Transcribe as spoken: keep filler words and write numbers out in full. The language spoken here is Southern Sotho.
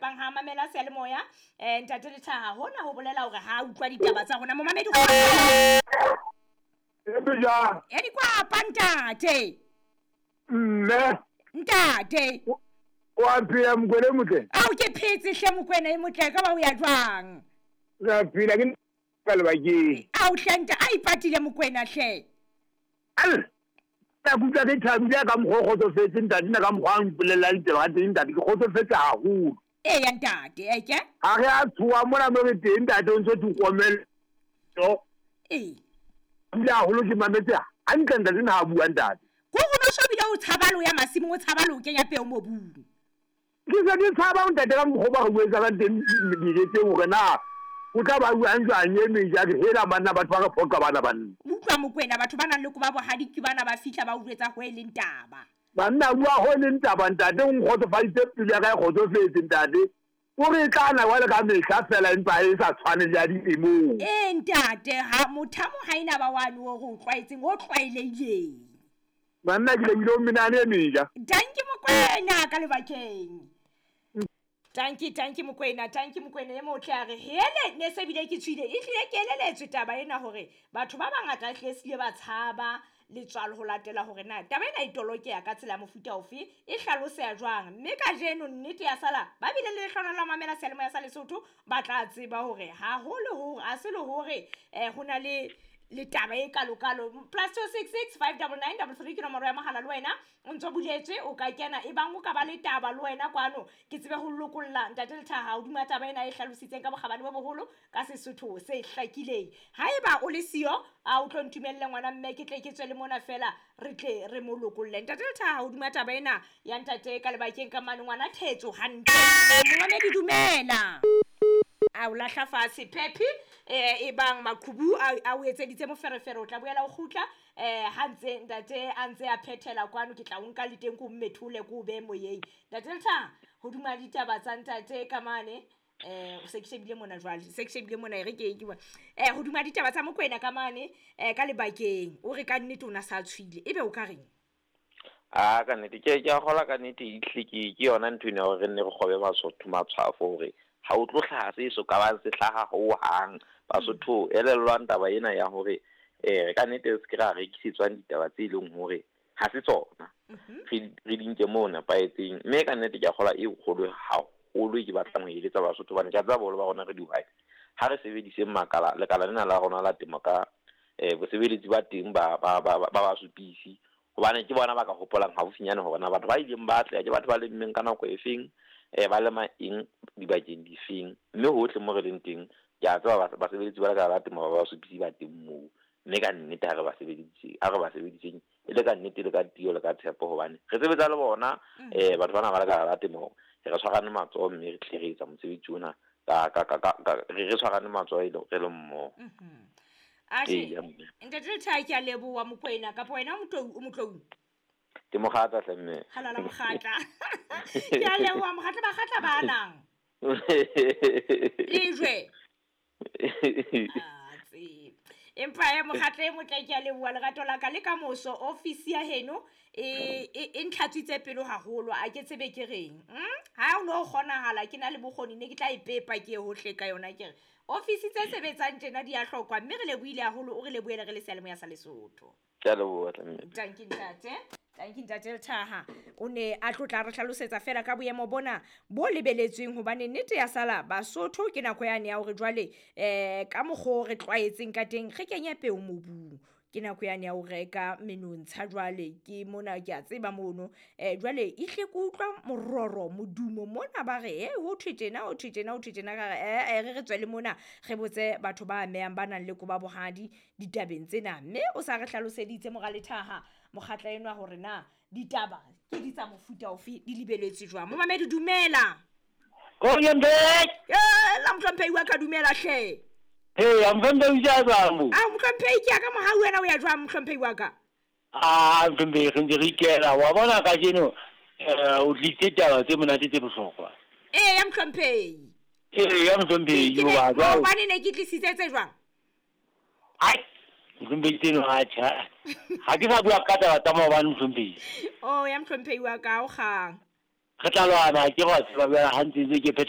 tshepang ha mamela seyalemoya. Eh ntate Lethaha hona ho bolela hore ha utlwa ditaba tsa rona momamedi e e di kwapa ntate. Mme ntate wa phela Mokwena e motle? Ao ke phetse hle Mokwena e motle, ka ba o ya jwang? Re phela ke ka lebakeng. Ao hle nta a ipatile Mokwena hle. Al ka kutlwa ke thabile ka mokgwa o kgotsofetse ntate, nna ka mokgwa a mpolella ditaba ka teng ntate, ke kgotsofetse haholo. Eya ntate, eke? Ha re a tshoha mona mo re teng ntate, o ntso tlokomelo. Ee. Ebile haholo ke mametse hantle ntate na ha bua ntate. Ko go no shobile o tshaba lo ya masimong, o tshaba lo kenya peo mobung. Ke se ke tshaba ntate ka mokgwa ba re buetsang teng diletseng hore na o tla ba buang jwang e meja ke hela banna batho ba re phoqa bana banna. Utlwa Mokwena, batho ba nang le koba bohadi ke bana ba fihla ba utlwetsa ho e leng taba. Banna bua ho e leng taba ntate, o nkgotsofaditse pelo ya ka e kgotsofetse ntate. O re tla na wa le ka mehla fela empa e sa tshwane le ya dilemong. Ee ntate, ha mothamo ha ena ba wane o re o tlwaetseng, o tlwaelehileng. Banna ke lebile o menane e meja. Danki Mokwena ka lebakeng. Tanki tanki Mokwena, tanki Mokwena e motle a re hele ne se bile ke tswile, e hlile ke eleletswe taba ena hore batho ba bangata hle sile ba tshaba letswalo ho latela hore na taba ena e tolokeya ka tsela ya mofuta ofe, e hlaloseha jwang. Mme kajeno nnete ya sala ba bile le lehlohonolo la mamela seyalemoya sa Lesotho, ba tla tseba hore haholo hore a se le hore eh ho na le le taba e kalokalo. Plus two six six five double nine double three ke nomoro ya mohala le wena o ntso buletswe, o ka kena e bang o ka ba le taba le wena kwano ke tsebe ho lokolla ntate Lethaha hodima taba ena e hlalositseng ka bokgabane bo boholo ka Sesotho se hlakileng. Haeba o le siyo a o tlo ntumelle ngwana mme ke tle ke tswe le mona fela re tle re mo lokolle. Ntate Lethaha hodima taba ena ya ntate ka lebakeng ka mane ngwana Thetso hantle. Momamedi dumela. A o lahla fatshe Pepi eh e bang maqhubu a o etseditse moferefere, o tla boela o kgutla eh ha ntse ntate a ntse a phethela kwano, ke tla o nka le teng ko mmethole ko be moyeng. Ntate Lethaha hodima ditaba tsa ntate ka mane eh o se ke shebile mona jwale, se ke shebile mona e re ke ke eh hodima ditaba tsa Mokwena ka mane eh ka lebakeng o re ka nnete o na sa tshwile, ebe o ka reng? A ka nnete ke ke a kgola ka nnete ehle ke ke yona ntho ena hore re nne re kgobe Basotho matshwafo hore ha o tlo hlaha se so ka bang se hlaha ho hang. Basotho elellwang taba ena ya hore eh ka nnete se ke ra rekisetswang ditaba tse leng hore ha se tsona, re re di nke moo nepahetseng. Mme ka nnete ke a kgola e kgolo haholo ke batlang ho eletsa Basotho hobane ke a tseba boholo ba rona re dihwai. Ha re sebediseng makala lekala lena la rona la temo ka eh bosebeletsi ba teng ba ba ba ba supisi, hobane ke bona ba ka hopolang haufinyane hore na batho ba ileng ba atleha ke batho ba lemmeng ka nako e feng, eh ba lema eng dibakeng difeng. Mme hohle mo re leng teng ke a tseba basebeletsi ba lekala la temo ba ba supisi ba teng moo. Mme ka nnete ha re ba sebedise, ha re ba sebediseng e le ka nnete le ka tiyo le ka tshepo, hobane re sebetsa le bona eh batho bana ba lekala la temo, re tshwarane matsoho mme re tle re etsa mosebetsi ona ka ka ka re re tshwarane matsoho e le re le mmoho. Ashe ntate Lethaha ke a leboha Mokwena, kapa wena o Motlou o Motlou? Ke Mokgatla hle mme. Halala Mokgatla. Ke a leboha Mokgatla, Bakgatla ba nang lejwe. Ah tsebe. Empa e Mokgatla e motle ke a leboha lerato la ka le ka moso office ya heno e e ntlhatswitse pelo haholo, a ke tsebe ke reng. Ha o no kgonahala ke na le bokgoni ne ke tla ipepa ke hohle ka yona ke re office tse sebetsang tjena di a hlokwa, mme re lebohile haholo, o re lebohele re le seyalemoya sa Lesotho. Ke a leboha hle. Tanki ntate. Tanki ntate Lethaha o ne a tlotla re hlalosetsa fela ka boemo bona bo lebeletsweng, hobane nnete ya sala Basotho ke nako yane ya hore jwale eh ka mokgwa re tlwaetseng ka teng re kenye peo mobung, ke nako yane ya ho reka menontsha jwale ke mona ke a tseba mono eh jwale e hle ke utlwa mororo modumo mona ba re eh ho thwe tjena ho thwe tjena ho thwe tjena ka re eh re re tswele mona re botse batho ba amehang ba nang le koba bohadi ditabeng tsena. Mme o sa re hlaloseditse mora Lethaha Mokgatla enwa hore na ditaba ke di tsa mofuta ofe di lebeletswe jwang. Momamedi dumela. Eh la mohlomphehi wa ka dumela hle. Hey, I'm from the Jazambu. Ah, mohlomphehi ke ya ka mohau wena o ya jwang mohlomphehi wa ka? Ah, mohlomphehi re ntse re ikela. Wa bona kajeno eh o tlitse taba tse monate tse bohlokwa. Eh, ya mohlomphehi. Eh, ya mohlomphehi wa jwang? Hobane ne ke tlisitse tse jwang? Ai, mohlomphehi tseno ha tjha. Ha ke sa bua ka taba tsa maobane mohlomphehi. Oh, ya mohlomphehi wa ka o kgang. Re tla lwana ke go tseba bjale ha ntse ke phetha